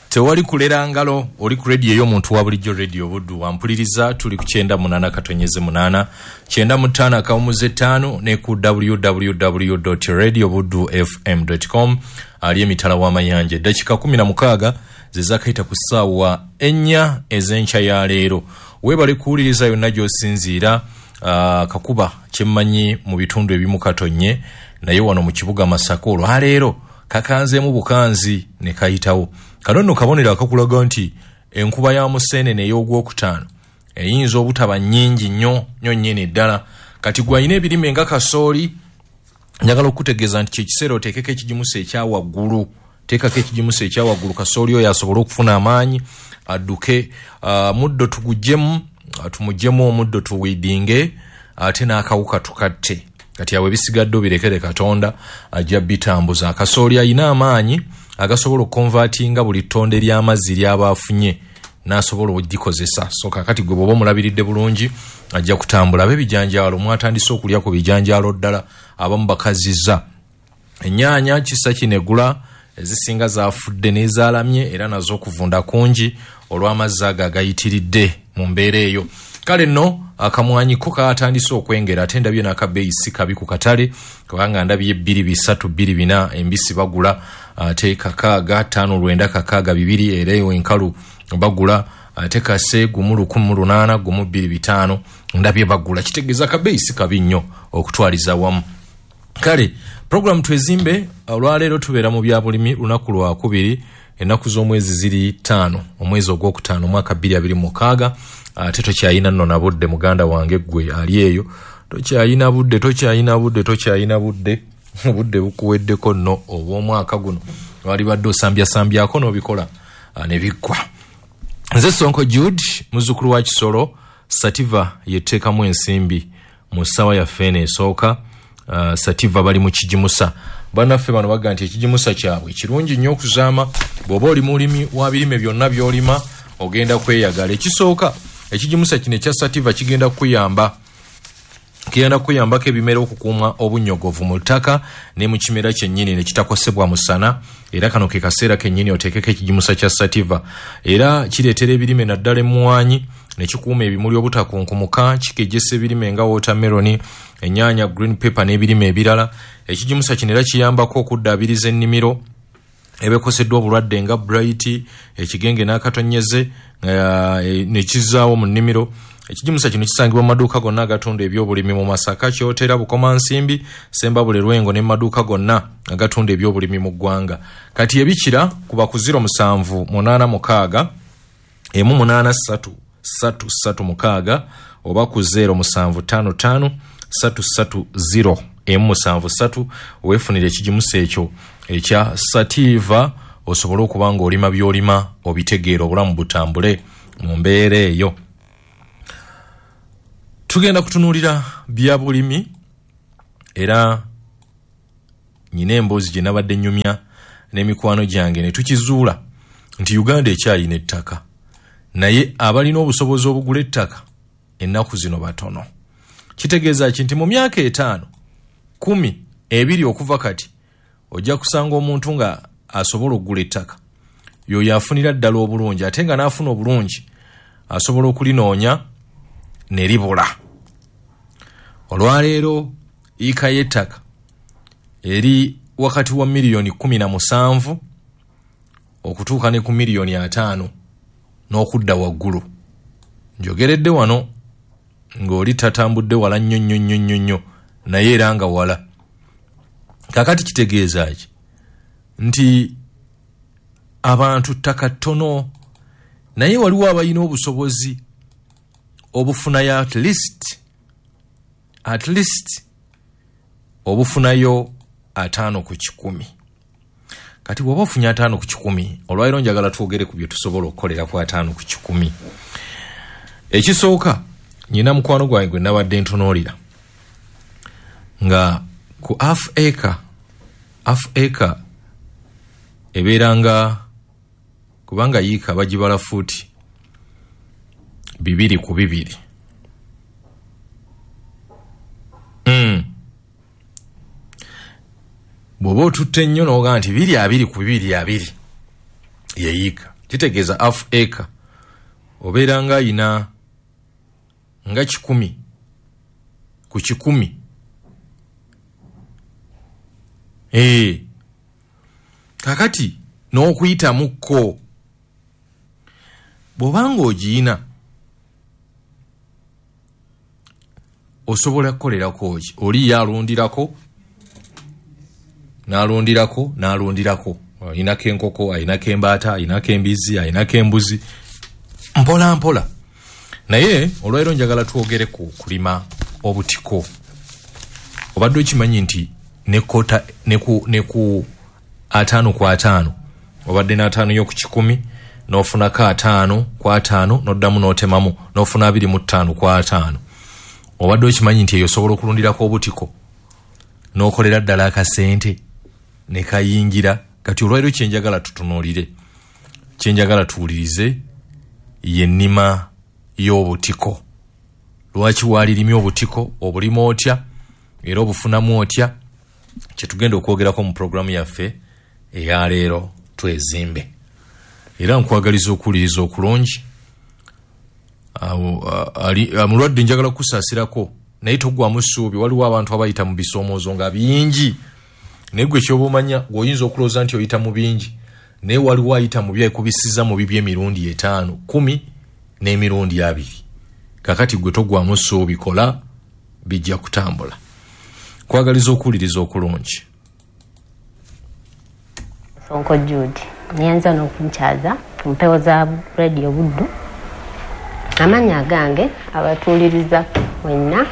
Tewali kulera ngalo, oli ku radio ey'omuntu wa bulijjo, Radio Buddu. Wampuliriza, tuli ku 98.8, 95.5 ne ku www.radiobuddufm.com. Ali emitala w'amayanja. Eddakiika 16 ze zaakayita ku ssaawa 4 ez'enkya ya leero. Weebale kuwuliriza yonna gy'osinziira. Kakuba kyemmanyi mu bitundu ebimu katonnye, naye wano mu kibuga Masaka olwaleero kakanzeemu bukanzi ne kayitawo. Kano nno kabonero akakulaga nti enkuba ya Museenene ey'ogwokutaano eyinza obutaba nnyingi nnyo nnyo nnyini ddala. Kati gw'alina ebirime nga kasooli, njagala okukutegeeza nti kyekiseera oteekeko ekigimusa ekya waggulu. Teekako ekigimusa ekya waggulu, kasooli oyo asobole okufuna amaanyi adduke. Muddo tuguggyemu, tumuggyemu omuddo tuwidinge, ate n'akawuka tukatte. Kati awo ebisigadde obirekere Katonda ajja bitambuza. Akasooli alina amaanyi agasobola okukonvatinga buli ttonde ly'amazzi ly'aba afunye n'asobola okugikozesa. So kakati gwe bw'oba omulabiridde bulungi ajja kutambula. Ab'ebijanjaalo mwatandise okulya ku bijanjaalo ddala, abamu bakazizza. Ennyaanya kisa kino egula, ezisinga zaafudde n'ezaalamye, era nazo okuvunda kungi olw'amazzi ago agayitiridde mu mbeera eyo. Kale nno akamwanyi ko kaatandise okwengera, ate ndabye n'akabeeyi si kabi ku katale, kubanga ndabye 2 3 2 4 embisi bagula, ate 6 5 9 6 2, era eyo enkalu bagula, ate kase 1 1800 1 2 5 ndabye bagula. Kitegeeza akabeeyi si kabi nnyo okutwaliza wamu. Kale program Twezimbe olwaleero tubeera mu byabulimi, lunaku lwakubiri, ennaku z'omwezi ziri 5, omwezi ogwokutaano, omwaka 2026. Ate tokyayina nno na budde, muganda wange ggwe ali eyo, tokyayina budde, tokyayina budde, tokyayina budde, obudde bukuweddeko nno obw'omwaka guno. Walibadde osambyasambyako n'obikola ne biggwa. Nze Sonko Jude, muzzukulu wa Kisolo. Sativa yeteekamu ensimbi mu ssaawa yaffe eno esooka. Sativa bali mu kigimusa. Bannaffe bano baga nti ekigimusa kyabwe kirungi nnyo okuzaama. Bw'oba oli mulimi wa birime byonna by'olima, ogenda kweyagala. Ekisooka, ekigimusa kino ekya Sativa kigenda kukuyamba, kigenda kukuyambako ebimera okukuuma obunnyogovu mu ttaka ne mu kimera kyennyini ne kitakosebwa musana. Era kano ke kaseera kennyini oteekeko ekigimusa kya Sativa. Era kireetera ebirime naddala emmwanyi ne kikuuma ebimuli obutakunkumuka, kikejjesa ebirime nga watermelon, ennyaanya, green pepper n'ebirime ebirala. Ekigimusa kino era kiyambako okuddaabiriza ennimiro ebekoseddwa obulwadde nga blight, ekigenge n'akatonyeze, ne kizzaawo mu nnimiro. Ekigimusa kino kisangibwa mu maduuka gonna agatunda ebyobulimi mu Masaka, Kyotera, Bukomansimbi, Sembabule, Lwengo ne mu maduuka gonna agatunda ebyobulimi mu ggwanga. Kati ebikira kuba ku 0786 183 336 oba ku 0755 330 173, weefunire ekigimusa ekyo ekya Sativa osobole okuba ng'olima by'olima obitegeera, obulamu butambule mu mbeera eyo. Tugenda kutunuulira bya bulimi, era nyina emboozi gye nabadde nnyumya n'emikwano gyange ne tukizuula nti Uganda ekyayina ettaka, naye abalina obusobozi obugula ettaka ennaku zino batono. Kitegeeza ki? Nti mu myaka 5, 10, 20 okuva kati, ojja kusanga omuntu nga asobola okugula ettaka yoyo afunira ddala obulungi, ate nga n'afuna obulungi asobola okulinoonya ne libula. Olwaleero yiika y'ettaka eri wakati wa miliyoni 17 okutuuka ne ku miliyoni 50 n'okudda waggulu. Njogeredde wano ng'oli tatambudde wala nnyo nnyo nnyo nnyo nnyo, naye era nga wala. Kakati kitegeeza ki? Nti abantu ttaka ttono, naye waliwo abalina obusobozi obufunayo at least obufunayo 50%. Kati bw'oba ofunye 50%, olwaliro njagala twogere ku bye tusobola okukolera ku 50%. Ekisooka, nyina mukwano gwange gwe nabadde ntunuulira nga ku half acre. Half acre ebeera nga, kubanga yiika bagibala fuuti 2 ku 2. Bw'oba otutte ennyo n'ogaa nti 220 ku 220. Ye yiika kitegeeza half acre obeera nga ayina nga 100 ku 100. Kakati n'okuyitamuko bw'obanga ogiyina osobola kukolerako ki? Oli yalundirako n'alundirako n'alundirako, ayinako enkoko, ayinako embaata, ayinako embizzi, ayinako embuzi, mpola mpola. Naye olwaleero njagala twogere ku kulima obutiko. Obadde okimanyi nti ne kota ne ku 5 ku 5 obadde n'ataano yo ku 100 n'ofunako 5 ku 5 n'oddamu n'otemamu n'ofuna 25 ku 5. Obadde okimanyi nti eyo osobola okulundirako obutiko n'okolera ddala akasente ne kayingira. Kati olwaleero kyenjagala tutunuulire, kyenjagala tuwulirize y'ennima y'obutiko. Lwaki waalirimye obutiko, obulima otya era obufunamu otya, kyetugenda okwogerako mu pulogulaamu yaffe eyaleero Twezimbe. Era nkwagaliza okuwuliriza okulungi. Mulwadde njagala kukusaasirako, naye toggwamu ssuubi. Waliwo abantu abayita mu bisoomoozo nga bingi, naye gwe kyoba omanya gweoyinza okulowooza nti oyita mu bingi, naye waliwo ayita mu byekubisiza mu bibyo emirundi 5, 10 n'emirundi 2. Kakati gwe toggwamu ssuubi, kola, bijja kutambula. Kwagaliza okuwuliriza okulungi. Sonko Jude nyanza n'okunkyaza ku mpewo za Radio Buddu. Amannya agange abatuuliriza mwenna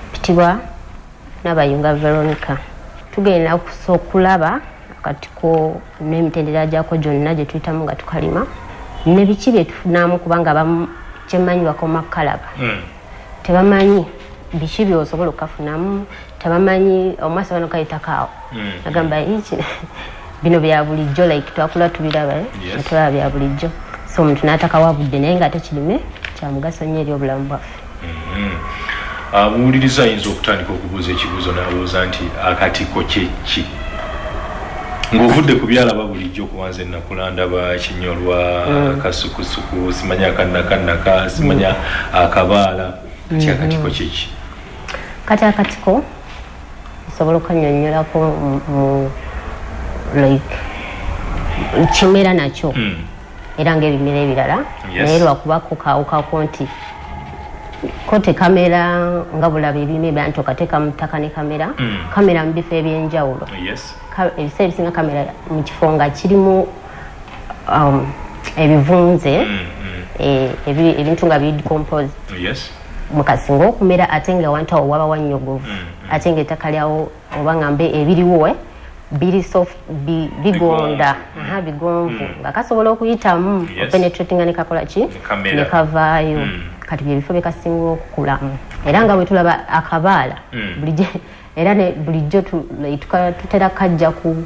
mpitibwa Nabayunga Veronica. Tugenda okulaba akatiko n'emitendera gyako gyonna gye tuyitamu nga tukalima ne biki bye tufunamu, kubanga abamu kyemmanyi bakoma kukalaba tebamanyi biki by'osobola okukafunamu, tebamanyi omwasi bano kayitako awo agamba iki bino bya bulijjo, like twakula tubiraba, tulaba bya bulijjo, so omuntu n'atakawa budde, naye ng'ate kirime kya mugaso nnyo eri obulamu bwaffe. Abuwuliriza ayinza okutandika okubuuza ekibuuzo n'abuuza nti akatiko kye ki? Ng'ovudde ku byalaba bulijjo, kubanza ennakula ndaba kinyolwa, kasukusuku, simanya akannakannaka, simanya akabaala, kati akatiko kye ki? Kati akatiko osobola okukanyonnyolako mu like kimera nakyo era ng'ebimera ebirala, naye lwakubako kawukako nti ko tekamera nga bulaba ebimera nti okateeka mu ttaka ne kamera, kamera mu bifo ebyenjawulo. Ebiseera ebisinga kamera mu kifo nga kirimu ebivunze, ebintu nga biri decomposed mukasinga okumera, ate nga awantu awo waba wannyogovu, ate ng'ettaka lyawo oba ngambe ebiriwo biri soft, bigonda, bigonvu, nga kasobola okuyitamu openetratinga ne kakola ki ne kavaayo. Kati bye bifo bye kasinga okukulamu. Era nga bwe tulaba akabaala era bulijjo tutera kajja ku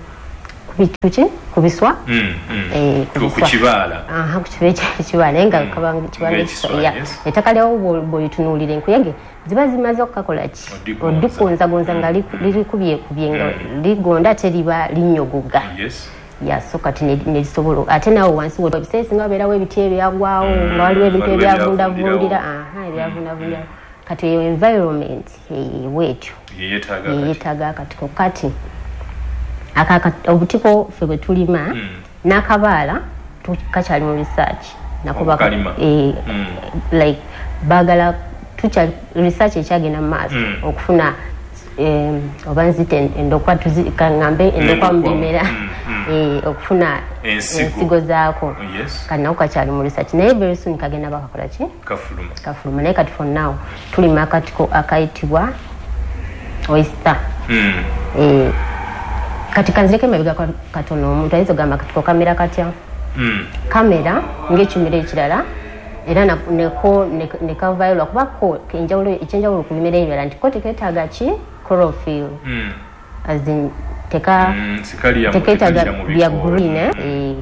biswa, ku kibaala, ku kibaala, naye nga kabanga kibaala ettaka lyawo bw'olitunuulira enkuyege ziba zimaze okukakola ki odigonzagonza nga lirikubyekubye nga ligonda ate liba linnyogoga. So kati nerisobola ate naawe wansi ebiseera ebisinga wabeerawo ebiti ebyagwawo, nga waliwo ebintu ebyavundavundira, ebyavundavundira. Kati eyo environment bwetyo yeetaaga akatiko. Kati obutiko ffe bwe tulima n'akabaala kakyali mu research nako like baagala research ekyagenda mu maaso okufuna oba nzite endokwa, kaŋŋambe endokwa mu bimera, okufuna ensigo zaako. Kati nako kakyali mu research, naye very soon kagenda bakakola ki kafuluma. Naye kati for now tulima akatiko akayitibwa oyster. Kati kanzireko emabega katono, omuntu ayinza okugamba akatiko kamera katya? Kamera ng'ekimera ekirala, era neko nekavaayo lwakuba ko ekyenjawulo ku bimera ebirala nti ko tekeetaaga ki chlorophyll, as in tekeetaaga bya green,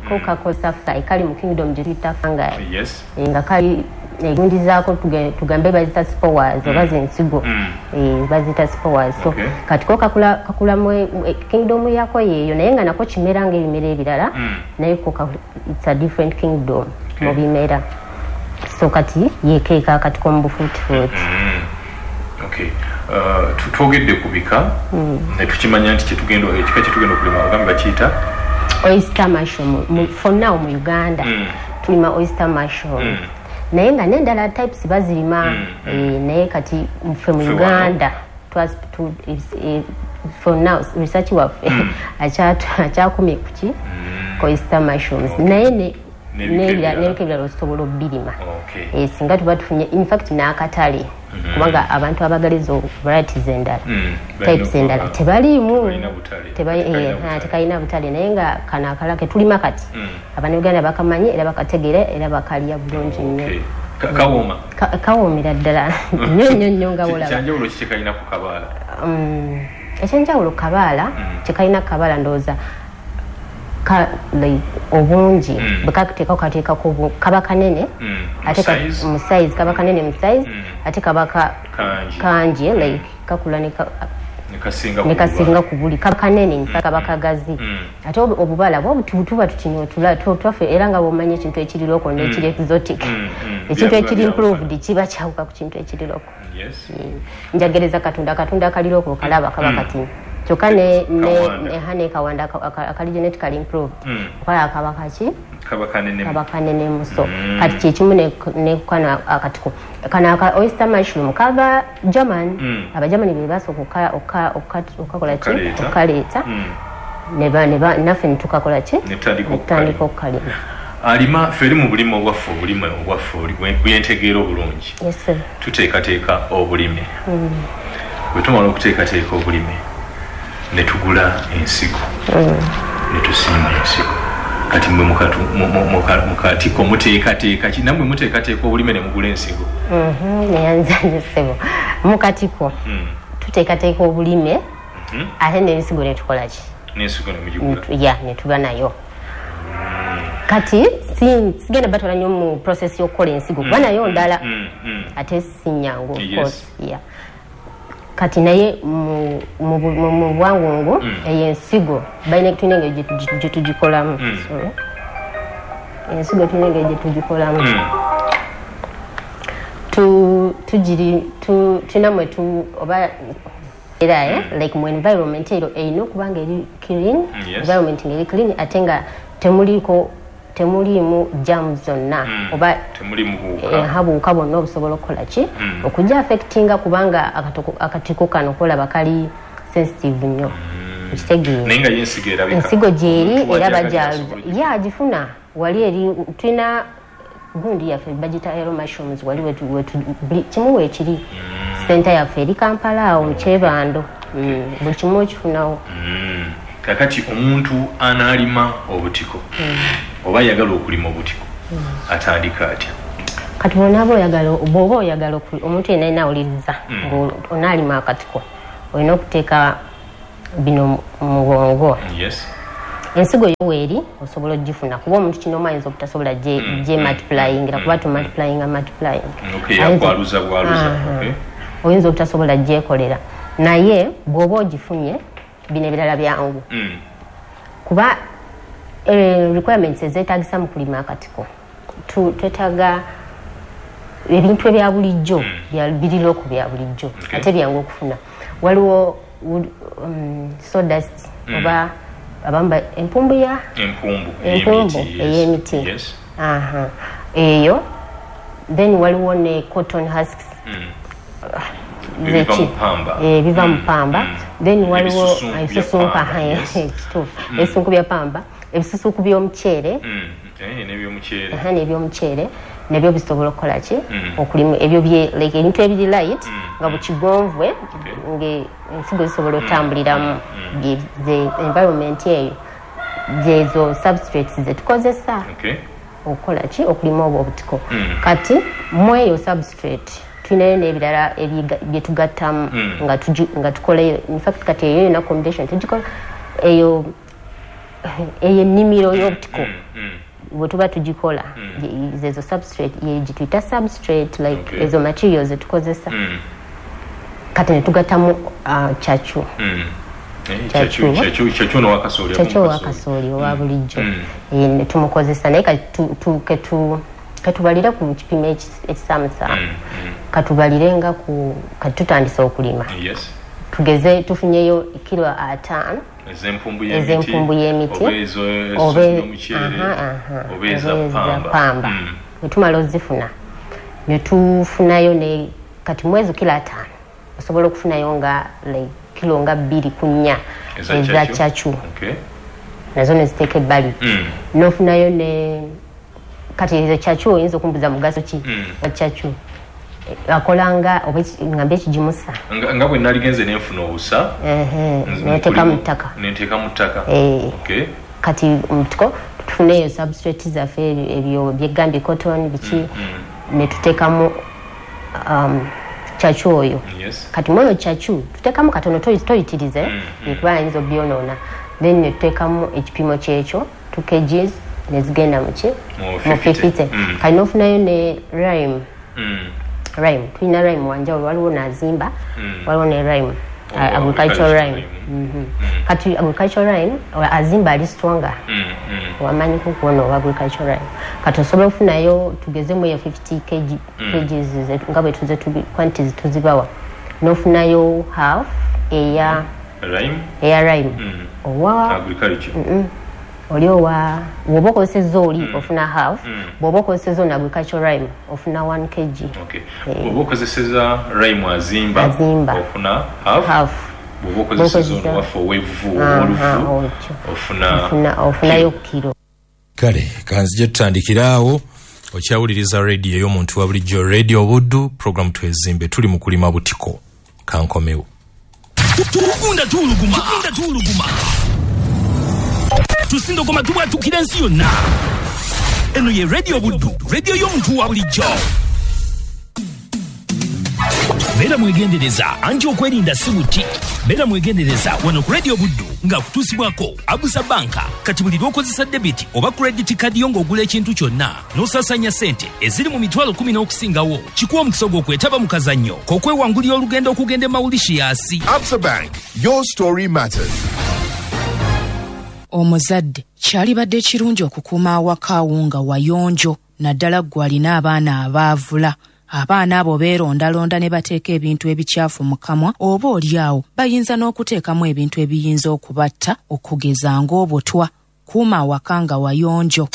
ko kakosa kali mu kingdom gye tuyita fungi, nga kali Egundi zaako tugambe bazita spores oba zensigo, bazita spores. So kati ko kakula mu kingdom yako yeeyo, naye nga nako kimera ng'ebimera ebirala, naye ko it's a different kingdom mu bimera. So kati yekeeka akatiko mu bufuutifuuti. Okay. Twogedde ku bika ne tukimanya nti ekika kyetugenda okulima ogambe bakiyita oyster mushroom. For now mu Uganda tulima oyster mushroom, naye nga n'endala types bazirima, naye kati ffe mu Uganda for now research waffe akyakomye kuki oyster mushrooms, naye n'ebika ebirala osobola obirima singa tuba tufunye in fact n'akatale, kubanga abantu abagala ezo varieties endala, types endala tebaliimu, tekalina butale, naye nga kano akalala ketulima kati Abannayuganda bakamanyi era bakategeera era bakalya bulungi nnyo. Kawooma? Kawoomera ddala nnyo nnyo nnyo nga wolaba. Kyanjawulo ki kyekalina ku kabaala? Ekyenjawulo kabaala kyekalina kabaala ndowooza obungi bwekateekako kateekako kaba kanene, ate mu size kaba kanene mu size, ate kaba kangi, like kakula ne kasinga ku buli, kaba kanene in fact kaba kagazi, ate obubala bwo tuba tutinyo twaffe, era nga bw'omanyi ekintu ekiri local n'ekiri exotic, ekintu ekiri improved kiba kyawuka ku kintu ekiri local. Njagereza katunda akali local kalaba kaba katini, kyokka ne kawanda akali genetically improved okola kaba kaki kaba kanene. So kati kyekimu ne kano akatiko kano aka oyster mushroom kava German, Abagermani be basooka okukakola ki okukaleeta, naffe ne tukakola ki netutandika okukalima. Alima ffe eri mu bulime obwaffe, obulime obwaffe bwentegeera obulungi, tuteekateeka obulime. Bwe tumala okuteekateeka obulime ne tugula ensigo ne tusimba ensigo. Kati mmwe mukatiko muteekateeka ki? Nammwe muteekateeka obulime ne mugula ensigo? Neyanza nnyo ssebo. Mukatiko tuteekateeka obulime ate n'ensigo ne tukola ki? N'ensigo ne mugigula? Ya, ne tuba nayo. Kati sigenda batwala nnyo mu process y'okukola ensigo kuba nayo ndala ate si nnyangu of course. Yeah. Kati naye mu bwangungu eyo ensigo balina tulina engeri gye tugikolamu. Ensigo tulina engeri gye tugikolamu. Tulina mwe oba era like mu environment eyo erina okuba nga eri clean, environment ng'eri clean ate nga temuliimu jam zonna oba buwuka bwonna obusobola okukola ki okujja affectinga, kubanga akatiko kano kolaba kali sensitive nnyo. Okitegeera? Ensigo gyeri era bajja agifuna wali eri tulina gundi yaffe bagita aero mushrooms, wali kimu weekiri center yaffe eri Kampala awo mu Kyebando, buli kimu okifunawo. Kakati omuntu anaalima obutiko oba ayagala okulima obutiko atandika atya? Kati bw'onaaba oyagala, bw'oba oyagala omuntu yenna yenna awuliriza ng'onaalima akatiko olina okuteeka bino mu bwongo. Ensigo yo weeri osobola ogifuna, kuba omuntu kino ayinza obutasobola gye multiplyingira, kuba tu multiplyinga multiplying. Oyinza obutasobola gyekolera, naye bw'oba ogifunye bino ebirala byangu, kuba requirements ezeetagisa mu kulima akatiko twetaaga ebintu ebya bulijjo biri local bya bulijjo ate byangu okufuna. Waliwo sawdust oba abamba empumbu ya empumbu ey'emiti, eyo. Then waliwo ne cotton husks biva mu pamba. Then waliwo ebisusunku, ebisusunku bya pamba, ebisusunku by'omuceere n'ebyomuceere nabyo bisobola okukola ki okulima ebyo like ebintu ebiri light nga bukigonvwe ng'ensigo zisobola otambuliramu. The environment eyo zezo substrates zetukozesa okukola ki okulima obwo obutiko. Kati mu eyo substrate tulinayo n'ebirala bye tugattamu nga tukola. In fact kati eyo yonna combination tugikola eyo ennimiro y'obutiko. bwe tuba tugikola, zezo substrate, gituyita substrate, like ezo materials zetukozesa. Kati netugattamu chachu. Chachu owakasooli owa bulijjo tumukozesa, naye katubalire ku kipimo ekisaamusaamu, katubalire nga kati tutandise okulima. Tugeze tufunyeyo kilo 5 ez'empumbu y'emiti oba eza pamba. Netumala ozifuna, netufunayo ne kati mwezi kilo 5 osobola okufunayo nga like kilo nga 2 ku 4 eza chachu. Nazo neziteeka ebbali. Nofunayo ne kati ezo chachu oyinza okumbuza mugaso ki wa chachu akolanga oba ngambe ekigimusa nga bwe naligenze nenfuna obusa neteeka mu ttaka, neteeka mu ttaka. Kati mutiko tufuneyo substrate zaffe ebyo byegambye cotton biki, netuteekamu chachu oyo. Kati mwoyo chachu tuteekamu katono, toyitirize kuba ayinza obyonoona. Then netuteekamu ekipimo kyekyo 2 kgs nezigenda muki mu 50. Kati nofunayo ne lime. Lime tulina lime wanjawulo, waliwo nazimba, waliwo ne lime agricultural lime. Kati agricultural lime azimba ali stronger, wamanyi kukuona owa agricultural lime. Kati osobola okufunayo tugezemu eyo 50 kgs nga bwe tuze quantities tuzibawa, nofunayo half eya lime, eya lime owa agriculture. Oli owa bw'oba okozesezza oli ofuna half, bw'oba okozesezza ono agricultural lime ofuna 1 kg. Bw'oba okozesezza lime azimba ofuna half, bw'oba okozesezza ono waffe ow'evvu ow'olufu ofunayo kilo. Kale kanzije tutandikira awo. Okyawuliriza radio ey'omuntu wa bulijjo, Radio Buddu, program Twezimbe, tuli mu kulima butiko. Kankomewo. Tugunda tuuluguma, tusindogoma tubwatukira ensi yonna. Eno ye Radio Buddu, radio y'omuntu wa bulijjo. Beera mwegendereza anti okwerinda si buti. Beera mwegendereza wano ku Radio Buddu nga kutuusibwako Abusa Banka. Kati buli lw'okozesa debit oba credit card yo ng'ogula ekintu kyonna n'osaasanya ssente eziri mu mitwalo 10 n'okusingawo, kikuwa omukisa ogw'okwetaba mu kazannyo k'okwewangulira olugendo okugenda e Mauritius. Absa Bank, your story matters. Omuzadde kyalibadde kirungi okukuuma awakaawo nga wayonjo, naddala ggwe alina abaana abaavula. Abaana abo beerondalonda ne bateeka ebintu ebikyafu mu kamwa, oba oli awo bayinza n'okuteekamu ebintu ebiyinza okubatta, okugeza ng'obutwa. Kuuma awaka nga wayonjo.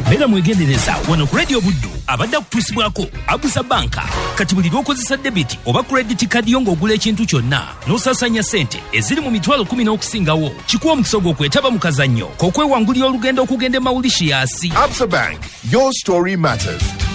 Beera mwegendereza wano ku Radio Buddu abadde akutuusibwako Abusa Banka. Kati buli lw'okozesa debit oba credit card yo ng'ogula ekintu kyonna n'osaasanya ssente eziri mu mitwalo 10 n'okusingawo, kikuwa omukisa ogw'okwetaba mu kazannyo k'okwewangulira olugendo okugenda e Mauritius. Absa Bank, your story matters.